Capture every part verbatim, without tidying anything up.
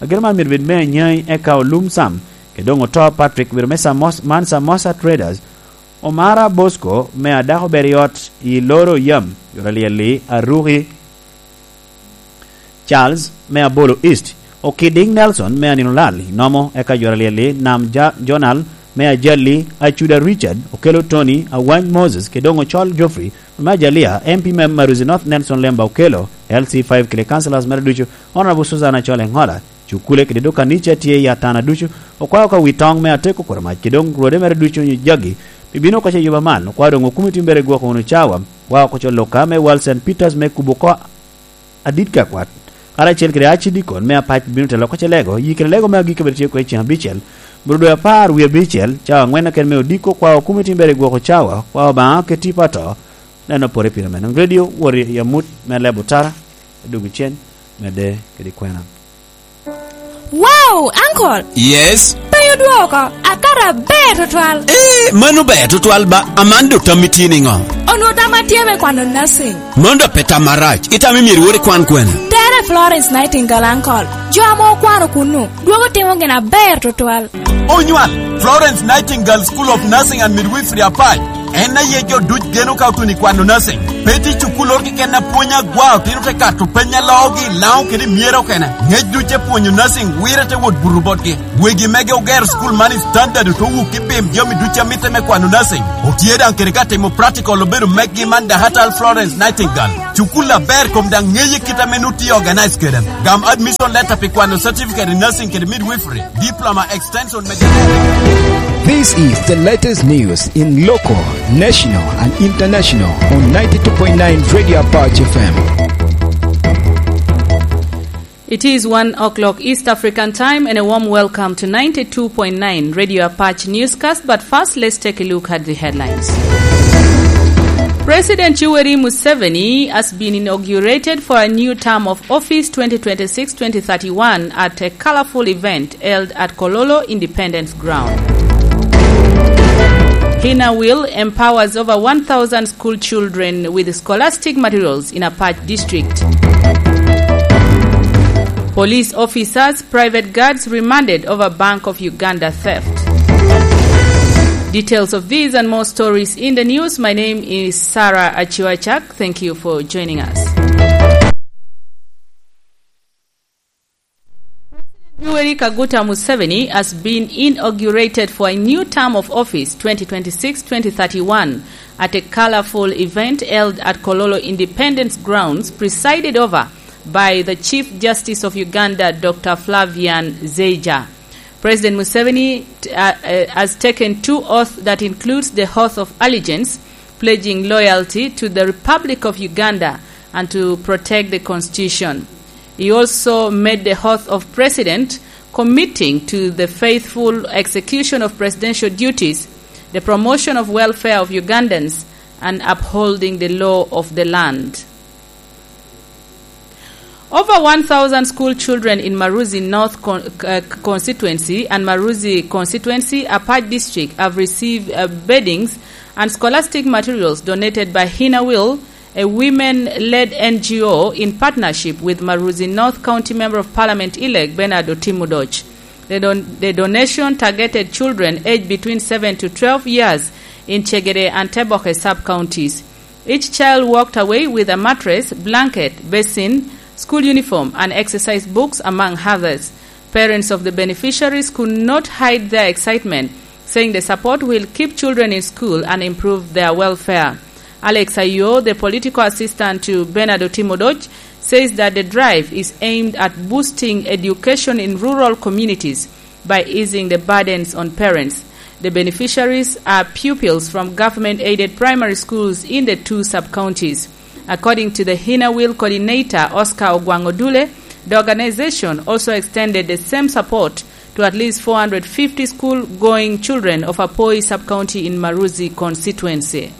Ageno man myero bed me anyai, eka olum Sam, kede doŋ oto Patrick, obedo me Samos-, man Samosa Traders. Omara Bosco me Adako ber i ot i Loro Yam, Jora Lyelli, Aruki Charles me Abolo East, Okiding Nelson me Anino Lal i Nomo, eka Jora Lyelli, Nam Ja-, Jonal me Ajalli, Acuda Richard, Okelo Tony, Awany Moses, kede doŋ Ocol Geoffrey, me Ajalia, M P me Maruzi North Nelson Lemba Okelo, L C five kede councillors mere ducu, Honorable Susan Acol Eŋola, cukule kede dok kanica tye i Atana ducu, okwao ka wi toŋ me Ateko Kuramac, kede doŋ rwode mere ducu onyo jagi, pi bino oko ce yuba man, okwao doŋ okumiti mere gwoko wunu cawa, okwao oko co Luka me Wal Saint Peters me kubo oko adit ka kwat, karacel kede acidikon me apac bino telo oko ce lego, yi kede lego me agikki bene tye oko i ceŋ abicel, bro dwe apar wie abicel, cawa aŋwen keken me odiko, okwao okumiti mere gwoko cawa, okwao Obaŋa kede tipo ato, neno pore pire me nwoŋo redio, wot i amut me lebo tara, adugu cen, medde kede kwena. Wow, uncle! Yes? Pe odwoko, akato aber tutwal. Eh, mano ber tutwal ba, aman do tammi tye niŋo? Onwo tamma tye me kwano nursing. Mano do pe tam marac, itamo myero iwor ikwan kwene? Tere Florence Nightingale, uncle. Jo ame okwano kunnu, dwogo timo gin aber tutwal. Onywal, Florence Nightingale School of Nursing and Midwifery Apac. En aye jo duc geno ka otuno i kwano nursing. Pe tye cukul oro keken a pwonyo agwa, otino te kato peny a loogi i Laŋo kede i Myera okene. Ngec duc te pwonyo nursing, wire te wot buto botgi. Wegi mege ogero cukul man i standard, ote wuk i bim jami duc a mitte me kwano nursing. Otye daŋ kede ka timo practical obedo meggi man Dahatal Florence Nightingale. Cukul aber kom daŋ ŋeye kit ame nut tye organize kede. Gam admission letter pi kwano certificate in nursing kede midwifery, diploma extension me. This is the latest news in local, national, and international on ninety-two point nine Radio Apache F M. It is one o'clock East African time, and a warm welcome to ninety-two point nine Radio Apache newscast. But first, let's take a look at the headlines. President Yoweri Museveni has been inaugurated for a new term of office twenty twenty-six twenty thirty-one at a colorful event held at Kololo Independence Ground. Hina Will empowers over one thousand school children with scholastic materials in Apac District. Police officers, private guards remanded over Bank of Uganda theft. Details of these and more stories in the news. My name is Sarah Achiwachak. Thank you for joining us. Yoweri Kaguta Museveni has been inaugurated for a new term of office twenty twenty-six twenty thirty-one at a colorful event held at Kololo Independence Grounds, presided over by the Chief Justice of Uganda, Doctor Flavian Zeija. President Museveni, uh, uh, has taken two oaths that includes the oath of allegiance, pledging loyalty to the Republic of Uganda and to protect the Constitution. He also made the oath of president, committing to the faithful execution of presidential duties, the promotion of welfare of Ugandans, and upholding the law of the land. Over one thousand school children in Maruzi North con-, uh, constituency and Maruzi constituency, Apac District, have received, uh, beddings and scholastic materials donated by Hina Will, a women-led N G O in partnership with Maruzi North County Member of Parliament elect Bernard Otimudoch. The don-, the donation targeted children aged between seven to twelve years in Chegede and Teboke sub-counties. Each child walked away with a mattress, blanket, basin, school uniform, and exercise books, among others. Parents of the beneficiaries could not hide their excitement, saying the support will keep children in school and improve their welfare. Alex Ayo, the political assistant to Bernard Otimudoch, says that the drive is aimed at boosting education in rural communities by easing the burdens on parents. The beneficiaries are pupils from government-aided primary schools in the two sub-counties. According to the Hina Will coordinator, Oscar Ogwang Odule, the organization also extended the same support to at least four hundred fifty school-going children of Apoi sub-county in Maruzi constituency.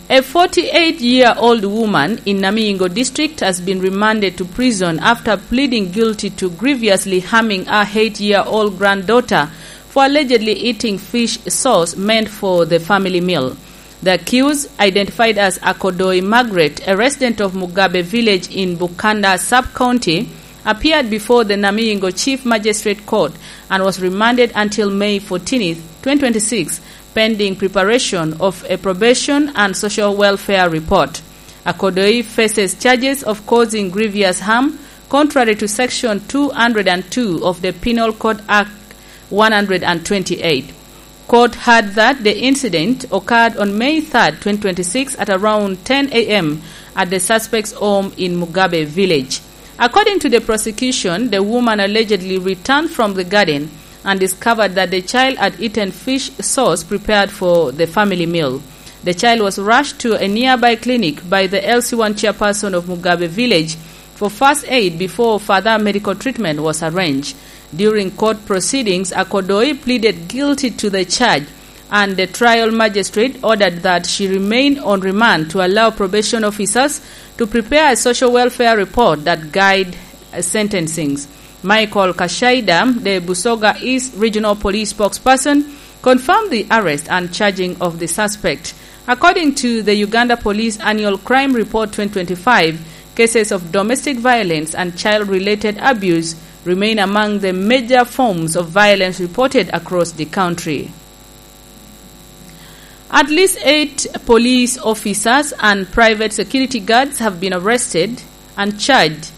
A forty-eight-year-old woman in Namingo district has been remanded to prison after pleading guilty to grievously harming her eight-year-old granddaughter for allegedly eating fish sauce meant for the family meal. The accused, identified as Akodoi Margaret, a resident of Mugabe village in Bukanda sub-county, appeared before the Namingo Chief Magistrate Court and was remanded until May fourteenth, twenty twenty-six, pending preparation of a probation and social welfare report. Akodoi faces charges of causing grievous harm contrary to Section two hundred and two of the Penal Code Act one hundred and twenty-eight. Court heard that the incident occurred on May third, twenty twenty-six, at around ten a m at the suspect's home in Mugabe village. According to the prosecution, the woman allegedly returned from the garden and discovered that the child had eaten fish sauce prepared for the family meal. The child was rushed to a nearby clinic by the L C one chairperson of Mugabe village for first aid before further medical treatment was arranged. During court proceedings, Akodoi pleaded guilty to the charge, and the trial magistrate ordered that she remain on remand to allow probation officers to prepare a social welfare report that guide, uh, sentencings. Michael Kashaida, the Busoga East Regional Police spokesperson, confirmed the arrest and charging of the suspect. According to the Uganda Police Annual Crime Report twenty twenty-five, cases of domestic violence and child-related abuse remain among the major forms of violence reported across the country. At least eight police officers and private security guards have been arrested and charged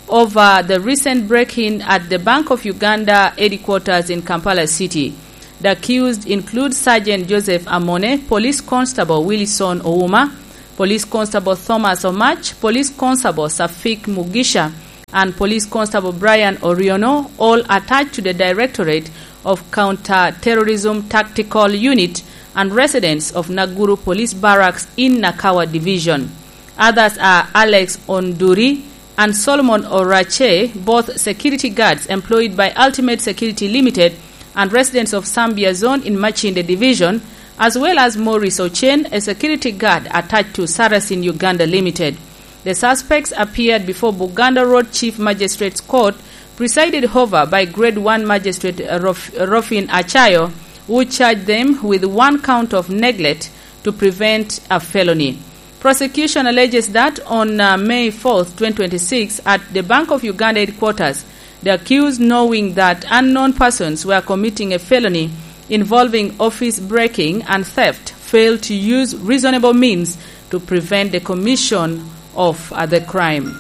over the recent break-in at the Bank of Uganda headquarters in Kampala City. The accused include Sergeant Joseph Amone, Police Constable Wilson Ouma, Police Constable Thomas Omach, Police Constable Safik Mugisha, and Police Constable Brian Oriono, all attached to the Directorate of Counter-Terrorism Tactical Unit and residents of Naguru Police Barracks in Nakawa Division. Others are Alex Onduri and Solomon Orache, both security guards employed by Ultimate Security Limited and residents of Sambia Zone in Machinde Division, as well as Maurice Ochen, a security guard attached to Sarasin Uganda Limited. The suspects appeared before Buganda Road Chief Magistrates Court, presided over by Grade one Magistrate Rof-, Rofin Achayo, who charged them with one count of neglect to prevent a felony. Prosecution alleges that on, uh, May fourth, twenty twenty-six, at the Bank of Uganda headquarters, the accused, knowing that unknown persons were committing a felony involving office breaking and theft, failed to use reasonable means to prevent the commission of, uh, the crime.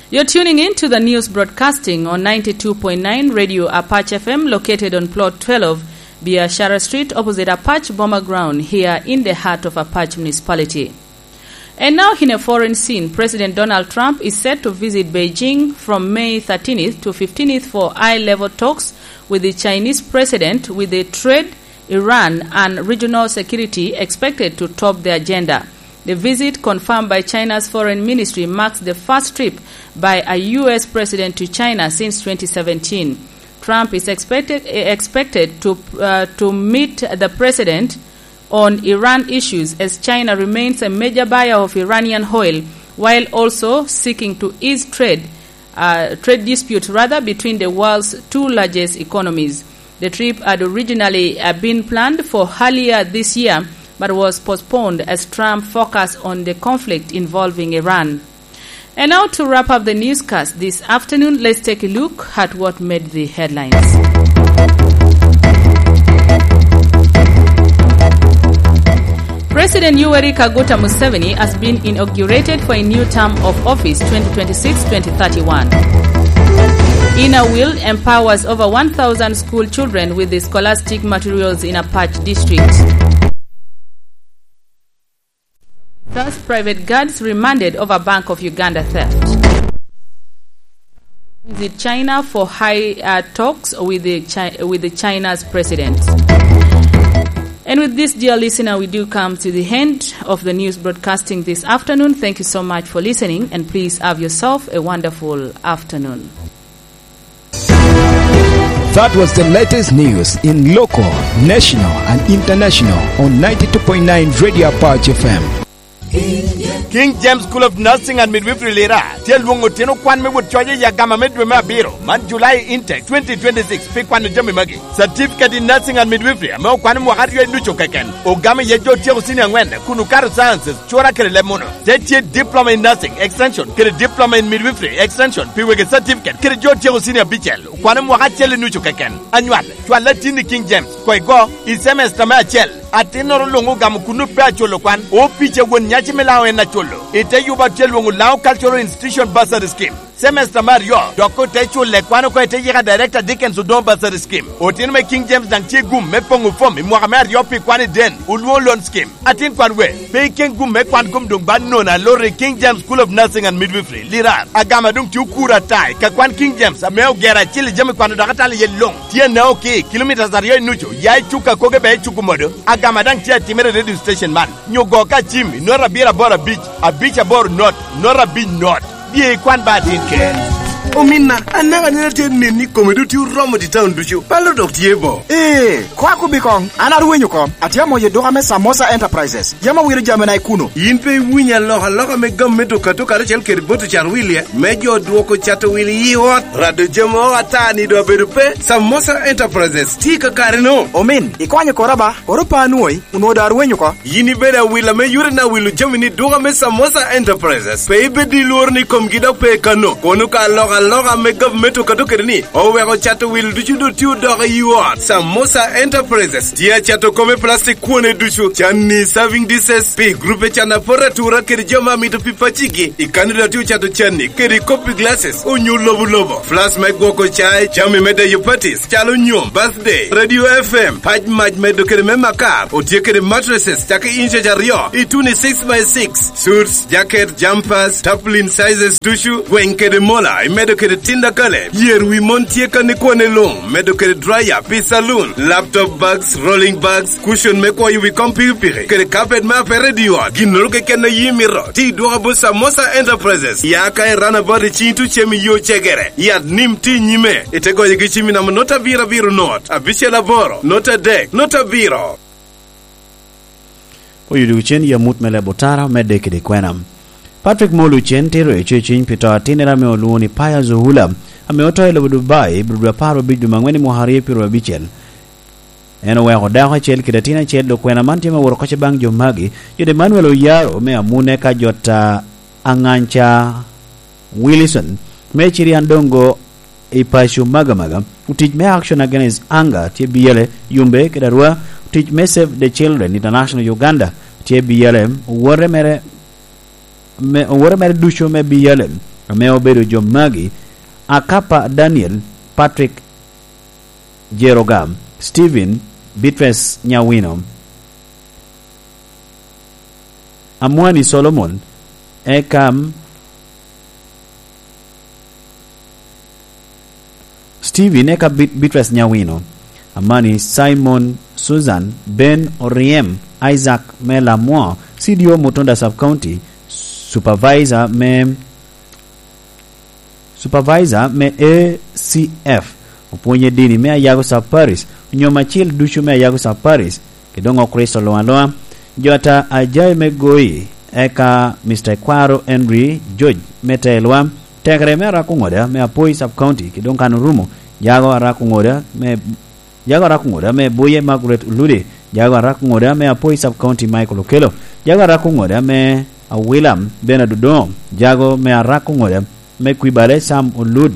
You're tuning in to the news broadcasting on ninety-two point nine Radio Apache F M, located on Plot twelve, Biashara Street, opposite Apache Boma Ground, here in the heart of Apache Municipality. And now, in a foreign scene, President Donald Trump is set to visit Beijing from May thirteenth to fifteenth for high-level talks with the Chinese president, with the trade, Iran, and regional security expected to top the agenda. The visit, confirmed by China's foreign ministry, marks the first trip by a U S president to China since twenty seventeen. Trump is expected, expected to, uh, to meet the president on Iran issues, as China remains a major buyer of Iranian oil, while also seeking to ease trade, uh, trade disputes, rather, between the world's two largest economies. The trip had originally, uh, been planned for earlier this year, but was postponed as Trump focused on the conflict involving Iran. And now, to wrap up the newscast this afternoon, let's take a look at what made the headlines. President Yoweri Kaguta Museveni has been inaugurated for a new term of office, twenty twenty-six twenty thirty-one. Inner Wheel empowers over one thousand school children with the scholastic materials in Apache District. Thus, private guards remanded over Bank of Uganda theft. Visit China for high, uh, talks with the Chi-, with the China's president. And with this, dear listener, we do come to the end of the news broadcasting this afternoon. Thank you so much for listening, and please have yourself a wonderful afternoon. That was the latest news in local, national, and international on ninety-two point nine Radio Apache F M. King James School of Nursing and Midwifery Lira tye alwoŋo otino kwan me wot coc i agama me dwe me abiro, man July intake twenty twenty-six, pi kwano jami magi: Certificate in Nursing and Midwifery ame okwano mwaka aryo i nucu keken, ogamo iye jo otyeko cini aŋwen kun okato sciences, cura kede leb muno. Te tye Diploma in Nursing Extension kede Diploma in Midwifery Extension pi wegi certificate kede jo otyeko cini abicel, okwano mwaka acel i nucu keken. Anywal, cwal atin i King James, koŋ igo i cemester me acel. Atinnoro luŋ ogamo kun pe aculo kwan. Opic a won nyaci me Laŋo en aculo. I te yubo atye lwoŋo Laŋo Cultural Institution Bursary Scheme. Cemester me aryo, dok ote culo kwan oko i te yika Director Dickens Odongo Bursary Scheme. Otino me King James daŋ tye gum me poŋo fom i mwaka me aryo pi kwan i den, olwoŋo loan scheme. Atin kwan we, pe iken gum me kwan kom doŋ ba nono aloro i King James School of Nursing and Midwifery, Lirar. Agama doŋ tye okuro ata i ka kwan King James ame ogero acil i jami kwano dok atalo iye luŋ. Tye Anaoki, kilomitas aryo i nucu, ya i Cuka Koge bea i Cuku Modo. Agama daŋ tye atimere i radio station man. Nyo go ka cim i nota abiro aboro abic, abic aboro not, nota abic not. Bye ikwan ba atin ker. Ominna, anaka neno tye neni kome dok tye oromo i taun ducu. Palo dok tye bo. Ee, kwa kubi koŋ. An arwenyo oko. Atye amoyo duka me Samosa Enterprises. Yam awiro jamina i kuno. In pe iwinyo alokaloka me gam me duka to karacel kede boto cat wilie, me jo dwoko cato wil i ot? Rado jami o ata ni do abedo pe? Samosa Enterprises tye i kakare-no. Omin, ikonyo kora ba, koro pa anwoŋi, onwoŋo do arwenyo oko. Yin ibedo awila me yore na wilo jami ni duka me Samosa Enterprises. Pe ibed i lworo ni komgi dok pe kano. Kono ka alokaloka me gavumenti okato kede ni, oweko cato wil ducu do tye odoko i ot. Samosa Enterprises tye acato kome plastic kwone ducu, canni, serving dishes, pi grupe can apot atura kede jo ma mito pi pacigi. I kanni dok tye ocato canni kede copy glasses onyo lobo lobo. Flask me gwoko cai, jami me deyo parties, calo nyom, birthday, radio F M, pac mac medo kede me makar, otye kede mattresses, cakki inches aryo, i tuni six by six, suits, jacket, jumpers, tarpaulin sizes ducu, gweng kede mola, imedo kede tinda kale, yer wi mon tye ka ni kwone luŋ, medo kede dryer, pi saloon, laptop bags, rolling bags, cushion me kwoyo wi kom pikipiki, kede carpet me apere i ot, ginnoro keken a yi mito, ti dwoka bot Samosa Enterprises, ya ka i runabout i cing tucem i yo cegere, yat nim ti nyime, ite goyo gi cim i namba not abiro abiro not, abicel aboro, not adek, not abiro. Oyudo cen i amut me leb otara, medde kede kwena. Patrick Molu cen tiro i ceciny pi to atinnere ame olwoŋo ni Pius Ohula, ame oto i lobo Dubai, i dwe apar obic dwe me aŋwen i mwaka aryo pyero abicel. En oweko dako acel kede atin acel, dok kwena man tye me woro kocce baŋ jo magi, Jod Emmanuel Oyaro me Amune ka Jot a Aŋanca Wilson me Cirian Dongo i paco Magamaga, otic me Action Against Hunger tye biyele, Yumbe kede Arua, otic me Save the Children International Uganda tye biyele, owote mere, me, owote mere ducu me biyele, ame obedo jo magi, Akapa Daniel, Patrick Jeroga, Stephen, Beatrice Nyawino, Amwani Solomon, eka Stephen, eka Bit-, Beatrice Nyawino, Amani Simon, Susan, Ben Oriem, Isaac me Lamwo, C D O Mutunda Sub County, Supervisor me Supervisor me A C F, opwonye dini me Ayago Sub Parish, onyo macil ducu me Ayago Sub Parish, kede doŋ Okricito luŋ aluŋa. Jota Ajai me Goyi, eka Mister Kwaro Henry George me Telwa, tekere me Arakuŋoda me Apoi Sub County, kede doŋ kan orumo, Jago Arakuŋoda me Jago Arakuŋoda me Buye Margaret Olude, Jago Arakuŋoda me Apoi Sub County Michael Okello, Jago Arakuŋoda me Awila Bernard Odongo, Jago me Arakuŋoda me Kwibale Sam Olud,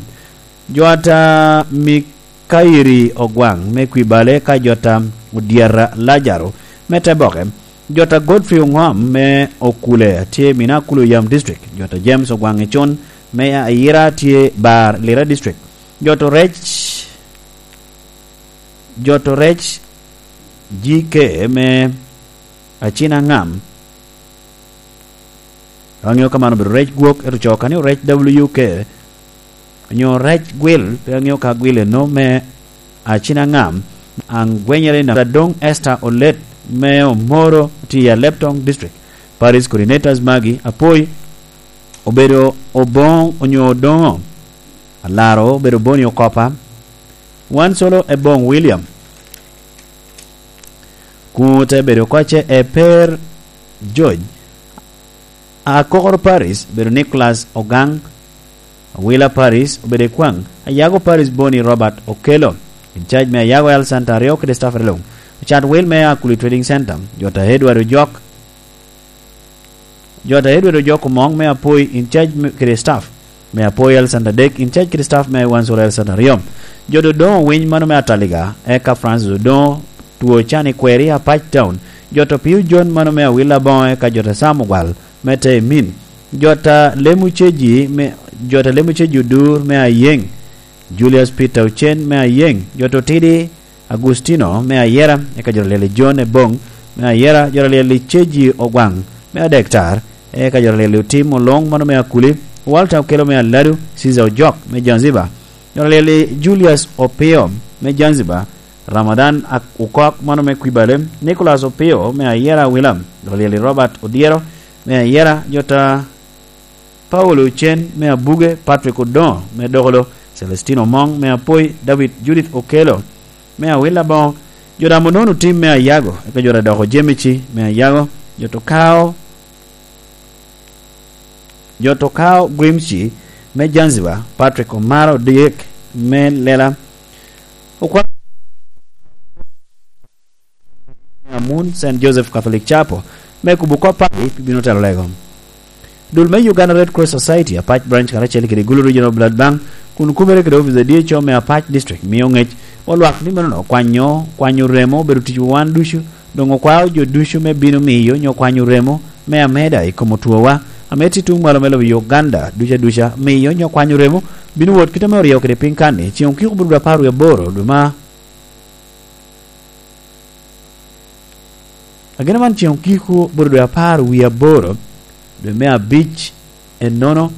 Jota Mikairi Ogwaŋ me Kwibale ka Jota Odyerra Lajaro me Teboke, Jota Godfrey Oŋom me Okule tye i Mina Akulu Yam District, Jota James Ogwaŋ Econ me Ayira tye Bar Lira District, Jota Orec Joto rec G K me Acina Ŋam, pe aŋeo ka man obedo rec gwok, ento co ka ni orec W K, onyo rec gwil, pe aŋeo ka gwil eno me Acina Ŋam, aŋ gwenyere na Adong Esther Olet me Omoro tye i Alebtong District. Paris Coordinators magi, Apoi obedo Oboŋo onyo Odoŋo, Alaro obedo Boni Okopa, Wan Solo Eboŋ William, kun ote bedo kocce Eper George, Akokoro Paris obedo Nicholas Ogang, Awila Paris obedo Ekwaŋ, Ayago Paris Boni Robert Okello, in charge me Ayago Health Center aryo kede staff luŋ, ocat wil me Akuli Trading Center, Jota Edward Ojok, Jota Edward Ojok Omoŋ me Apoi in charge me, kede staff me Apoi Health Center adek in charge kede staff me Wansura Health Center aryo, Jota Odoŋo Winy mano me Ataliga, eka Francis Odoŋo Two Cani Kweri Apac Town, Jota Pio John mano me Awila Boŋo, eka Jota Sam Ogwal me Temin, Jota Lemu Ceji me, Jota Lemu Ceji Odur me Ayeŋ, Julius Peter Ocen me Ayeŋ, Jota Otidi Agustino me Ayera, eka Jota Lyel i John Eboŋ me Ayera, Jota Lyel i Ceji Ogwaŋ me Adektar, eka Jota Lyel i Otim Oloŋ mano me Akuli, Walter Okello me Aladu, Caesar Ojok me Zanzibar, Jota Lyel i Julius Opio me Zanzibar, Ramadan Ak-, Okok mano me Kwibale, Nicholas Opio me Ayera Awila, Jota Lyel i Robert Odyero me Ayera, Jota Paulo Ocen me Abuge, Patrick Odoŋo me Dokolo, Celestino Omoŋ me Apoi, David Judith Okello me Awila Boŋo, Jota Monono Tim me Ayago, eka Jota Doko Jemici me Ayago, Jota Okao, Jota Okao Gwimci me Zanzibar, Patrick Omara Odyek me Lela, Okwa-, Amun Saint Joseph Catholic Chapel, me kubo kop pagi pi bino telo lego. Dul me Uganda Red Cross Society, Apac Branch karacel kede Gulu Regional Blood Bank, kun kumere kede office a D H O me Apac District, mio ŋec wa lwak ni meno kwanyo, kwanyo remo obedo ticwa wan ducu, doŋ okwao jo ducu me bino miyo nyo kwanyo remo me ameda i kom otwowa, ame tye tuŋ malo me lobo Uganda duca duca, miyo nyo kwanyo remo bino wot kite me oryewo kede piny kan-ni, ceŋ okiko bur dwe apar wie aboro dwe ma Agina man ceŋ okiko bot dwe apar wie aboro, dwe me abic, ennono,